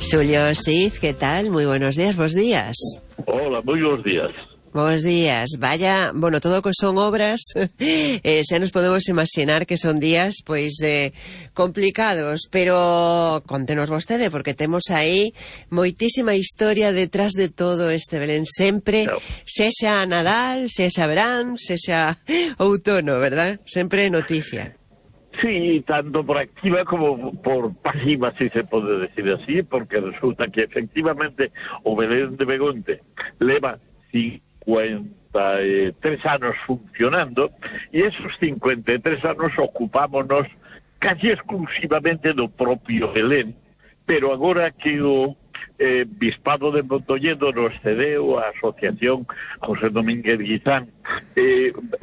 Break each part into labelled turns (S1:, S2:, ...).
S1: Xulio Cid, ¿qué tal? Muy buenos días, bos días.
S2: Hola, muy buenos días.
S1: Bos días. Vaya, bueno, todo que son obras, xa nos podemos imaginar que son días, pois, complicados, pero contenos vostede, porque temos aí moitísima historia detrás de todo este Belén, sempre, sexa Nadal, sexa verán, sexa outono, verdad? Sempre noticia.
S2: Sí, tanto por activa como por pasiva, si se puede decir así, porque resulta que efectivamente o Belén de Begonte leva 53 anos funcionando e esos 53 anos ocupámonos casi exclusivamente do propio Belén, pero agora que o Bispado de Mondoñedo nos cedeu a Asociación José Domínguez Guizán,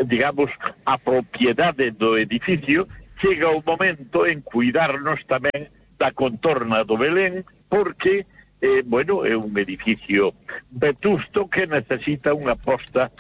S2: digamos, a propiedade do edificio, chega o momento en cuidarnos tamén da contorna do Belén, porque bueno, é un edificio vetusto que necesita unha posta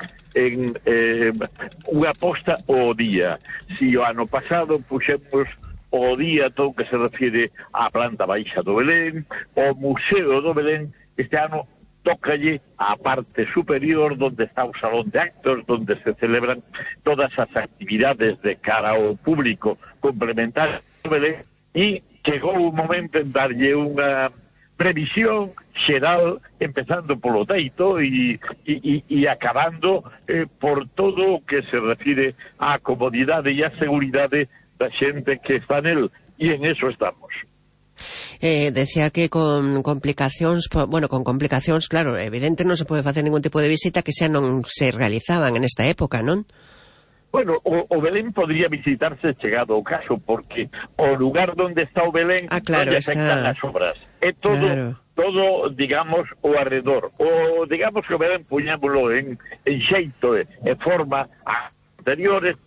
S2: ao día. Si o ano pasado puxemos ao día todo o que se refire á planta baixa do Belén, o Museo do Belén, este ano tócalle a parte superior donde está o salón de actos, donde se celebran todas as actividades de cara ao público complementarias do Belén, e chegou o momento en darlle unha previsión xeral, empezando polo teito e acabando por todo o que se refire á comodidade e á seguridade da xente que está nel, e en eso estamos.
S1: Decía que con complicacións, bueno, con complicacións, claro, evidente non se pode facer ningún tipo de visita que xa non se realizaban en esta época, non?
S2: Bueno, o Belén podría visitarse chegado o caso, porque o lugar donde está o Belén
S1: claro,
S2: non lle afectan as obras. É todo, claro, todo, digamos, o arredor. O, digamos que o Belén puñámoslo en xeito e forma anteriores.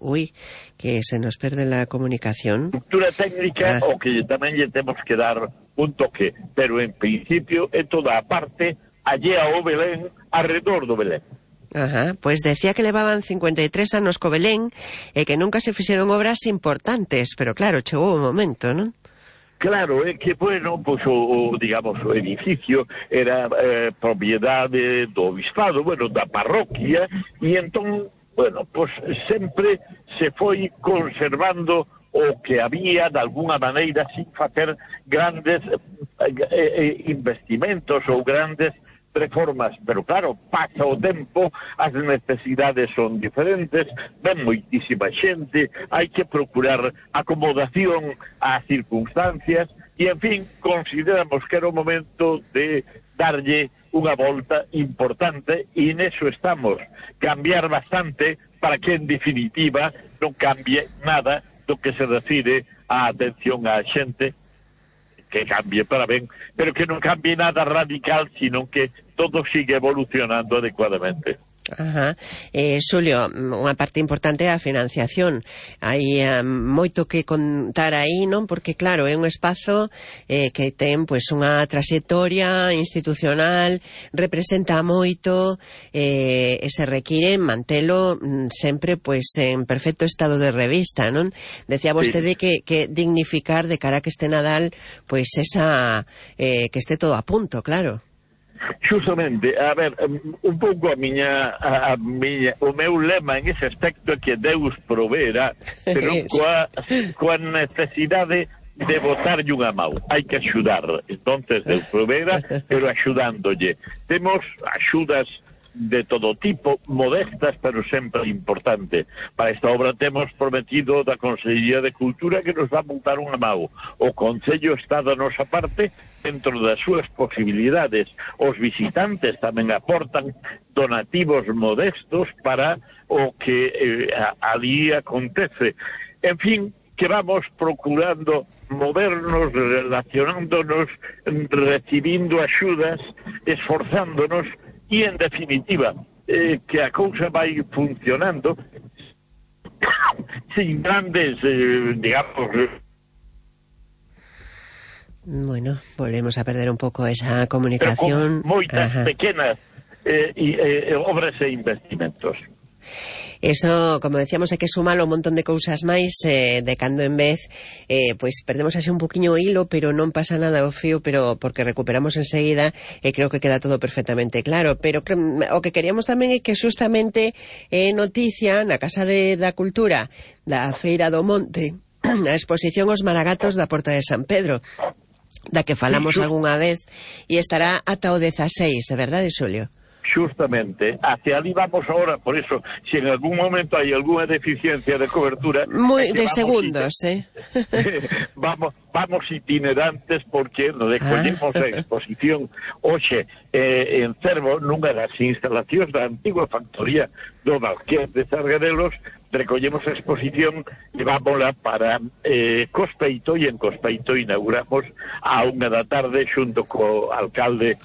S1: Uy, que se nos perde la comunicación.
S2: Estructura técnica, o que tamén lle temos que dar un toque, pero en principio é toda a parte allea ao Belén, arredor do Belén.
S1: Ajá, pues decía que levaban 53 anos co Belén e que nunca se fixeron obras importantes, pero claro, chegou o momento, non?
S2: Claro, é que, bueno, pues digamos, o edificio era propiedade do bispado, bueno, da parroquia, e entón, bueno, pues sempre se foi conservando o que había de alguna maneira sin facer grandes investimentos ou grandes reformas, pero claro, pasa o tempo, as necesidades son diferentes, ven moitísima xente, hai que procurar acomodación ás circunstancias, e en fin, consideramos que era o momento de darlle unha volta importante, e neso estamos, cambiar bastante para que en definitiva non cambie nada do que se refire á atención á xente, que cambie para ben, pero que non cambie nada radical, sino que todo sigue evolucionando adecuadamente.
S1: Ajá. Xulio, unha parte importante é a financiación. Hai moito que contar aí, non? Porque claro, é un espazo que ten pois unha traxectoria institucional, representa moito, e se require mantelo sempre pois en perfecto estado de revista, non? Decía vostede que dignificar de cara a que este Nadal pois esa que este todo a punto, claro.
S2: Justamente, a ver, un pouco o meu lema en ese aspecto é que Deus proveerá, pero coa necesidade de botarlle unha mão. Hai que axudar, entonces Deus proveerá, pero axudándolle. Temos axudas de todo tipo, modestas, pero sempre importante. Para esta obra temos prometido da Consellería de Cultura que nos va a botar unha mão. O Concello está da nosa parte dentro das súas posibilidades. Os visitantes tamén aportan donativos modestos para o que ali acontece. En fin, que vamos procurando movernos, relacionándonos, recibindo axudas, esforzándonos, e en definitiva que a cousa vai funcionando sin grandes digamos.
S1: Bueno, volvemos a perder un pouco esa comunicación,
S2: pero con moitas pequenas obras e investimentos.
S1: Eso, como decíamos, hai que sumar un montón de cousas máis, de cando en vez, pois perdemos así un poquinho o hilo, pero non pasa nada ao fío, pero porque recuperamos enseguida, e creo que queda todo perfectamente claro. Pero o que queríamos tamén é que xustamente noticia na Casa da Cultura da Feira do Monte, a exposición Os Maragatos da Porta de San Pedro, da que falamos algunha vez, e estará ata o 16, é verdade, Xulio?
S2: Justamente, hacia ali vamos ahora, por eso, si en algún momento hay alguna deficiencia de cobertura...
S1: Muy de segundos,
S2: vamos itinerantes, porque nos recollemos a exposición hoxe en Cervo, nunha das instalacións da antigua factoría do Marqués de Sargadelos. Recollemos a exposición, levámola para Cospeito, e en Cospeito inauguramos a 1 da tarde xunto co alcalde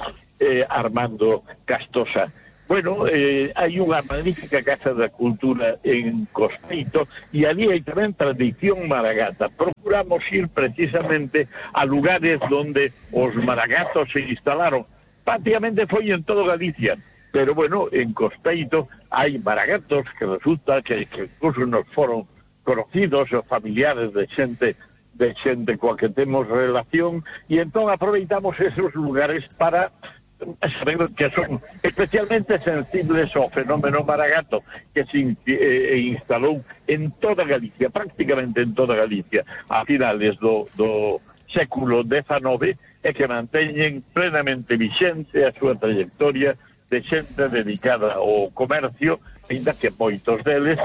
S2: Armando Castosa. Bueno, hai unha magnífica Casa da Cultura en Cospeito, e ali hai tamén tradición maragata. Procuramos ir precisamente a lugares donde os maragatos se instalaron. Prácticamente foi en todo Galicia, pero bueno, en Cospeito hai maragatos que resulta que incluso nos foron conocidos os familiares de xente coa que temos relación, e entón aproveitamos esos lugares para saber que son especialmente sensibles ao fenómeno maragato, que se instalou en toda Galicia, prácticamente en toda Galicia, a finales do século XIX, e que manteñen plenamente vixente a súa trayectoria de xente dedicada ao comercio, ainda que moitos deles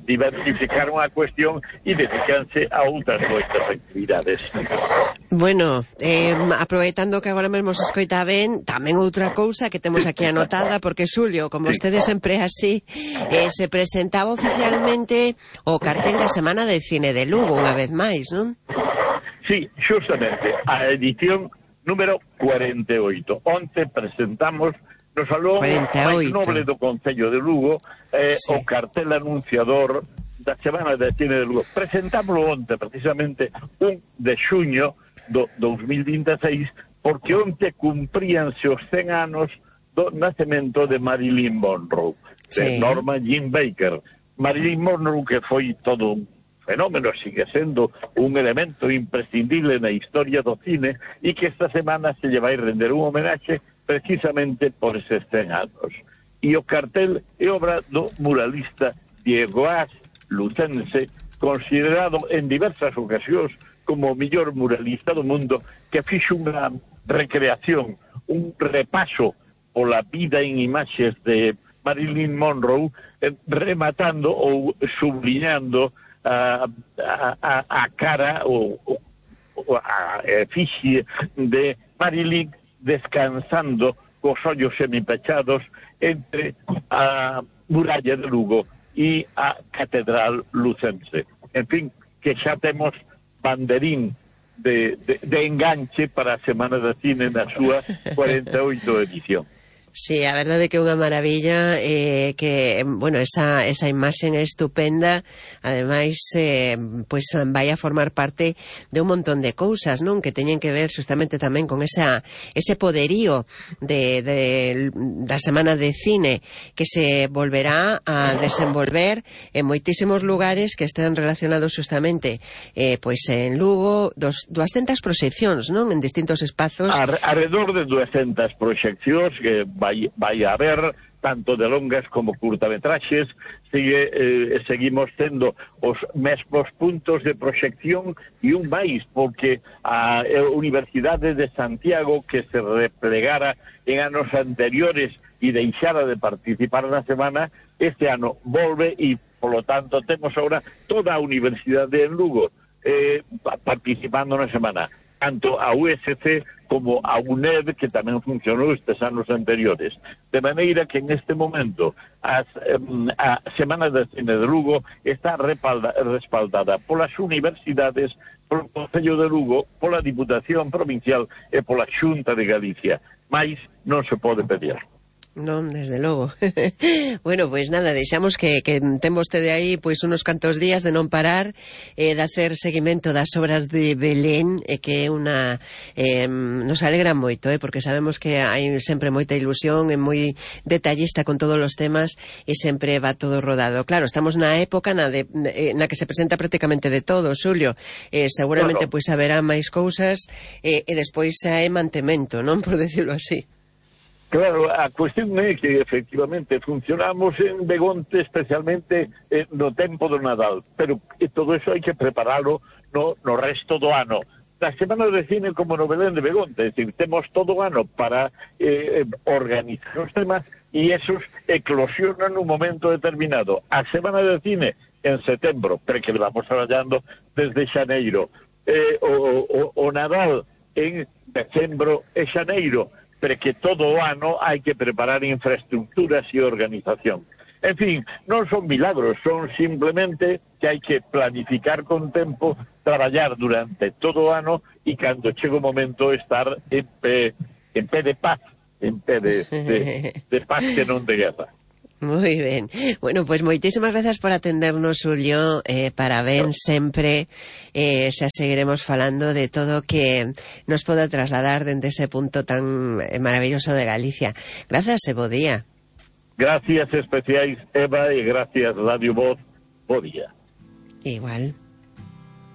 S2: diversificaron a cuestión e dedicanse a outras moitas actividades.
S1: Bueno, aproveitando que agora mesmo se escoita ben, tamén outra cousa que temos aquí anotada, porque Xulio, como vostede sempre é así, se presentaba oficialmente o cartel da Semana de Cine de Lugo, unha vez máis, non?
S2: Sí, justamente, a edición número 48. Onte presentamos no salón máis noble do Concello de Lugo o cartel anunciador da Semana de Cine de Lugo. Presentámoslo onte, precisamente 1 de xuño do 2026, porque onte cumpríanse os 100 anos do nacemento de Marilyn Monroe, de Norma Jean Baker. Marilyn Monroe, que foi todo un fenómeno, sigue sendo un elemento imprescindible na historia do cine, e que esta semana se lle vai render un homenaxe precisamente por eses 100 anos. E o cartel é obra do muralista Diego As, lucense, considerado en diversas ocasións como o mellor muralista do mundo, que fixo unha recreación, un repaso pola vida en imaxes de Marilyn Monroe, rematando ou subliñando a cara ou a efigie de Marilyn descansando cos ollos semipechados entre a muralla de Lugo e a Catedral Lucense. En fin, que xa temos banderín de enganche para a Semana de Cine na súa 48 edición.
S1: Sí, a verdade que é unha maravilla, que, bueno, esa imaxen é estupenda, ademais, pois vai a formar parte de un montón de cousas, non? Que teñen que ver justamente tamén con ese poderío da Semana de Cine, que se volverá a desenvolver en moitísimos lugares que están relacionados justamente, pois en Lugo, 200 proxeccións, non? En distintos espazos.
S2: Alrededor de 200 proxeccións que vai a haber, tanto de longas como curtametraxes. Seguimos tendo os mesmos puntos de proxección e un máis, porque a Universidade de Santiago, que se replegara en anos anteriores e deixara de participar na semana, este ano volve, e polo tanto temos agora toda a Universidade en Lugo participando na semana, tanto a USC como a UNED, que tamén funcionou estes anos anteriores. De maneira que en este momento a Semana de Cine de Lugo está respaldada polas universidades, polo Concello de Lugo, pola Diputación Provincial e pola Xunta de Galicia. Mais non se pode pedir.
S1: Non, desde logo. Bueno, pois nada, deixamos que ten vostede aí pois unos cantos días de non parar, de hacer seguimento das obras de Belén, que é unha nos alegra moito, porque sabemos que hai sempre moita ilusión, é moi detallista con todos os temas e sempre va todo rodado. Claro, estamos na época na que se presenta prácticamente de todo, Xulio. Seguramente pois haberá máis cousas e despois hai mantemento, non, por decirlo así.
S2: Claro, a cuestión é que efectivamente funcionamos en Begonte especialmente no tempo do Nadal, pero todo eso hai que preparalo no resto do ano. Na Semana de Cine como no Belén de Begonte, é dicir, temos todo o ano para organizar os temas e esos eclosionan nun momento determinado. A Semana de Cine en setembro, pero que vamos traballando desde xaneiro. O Nadal en decembro e xaneiro, pero que todo o ano hai que preparar infraestructuras e organización. En fin, non son milagros, son simplemente que hai que planificar con tempo, traballar durante todo o ano e cando chega o momento estar en pé de paz, en pé de paz que non de guerra.
S1: Moi ben. Bueno, pois moitísimas grazas por atendernos, Xulio, parabéns sempre, xa seguiremos falando de todo que nos poda trasladar dende ese punto tan maravilloso de Galicia. Grazas e bo día.
S2: Gracias especiais, Eva, e gracias Radio Voz, bo día.
S1: Igual.